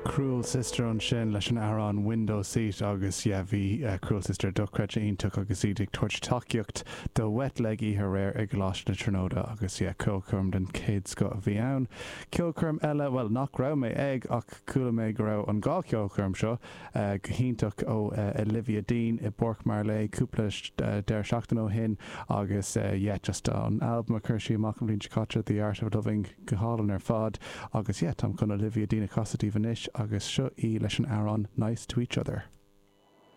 Cruel Sister ansin leis an amhrán Window Seat agus yeah bhí Cruel Sister dochreidte iontach agus iad ag tabhairt tacaíocht do Wet Leg oíche aréir i gColáiste na Tríonóide agus yeah ceolchoirm den chéad scoth a bhí ann. Ceolchoirm eile, bhuel nach raibh mé ag ach chuala mé go raibh an dhá cheolchoirm seo go hiontach ó Olivia Dean i bPáirc Marlay cúpla deireadh seachtaine ó shin agus yeah just an albam a chuir sí amach an bhliain seo caite The Art of Loving go hálainn ar fad agus yeah táim chun Olivia Dean a chasadh daoibh anois agus seo í leis an amhrán Nice to Each Other.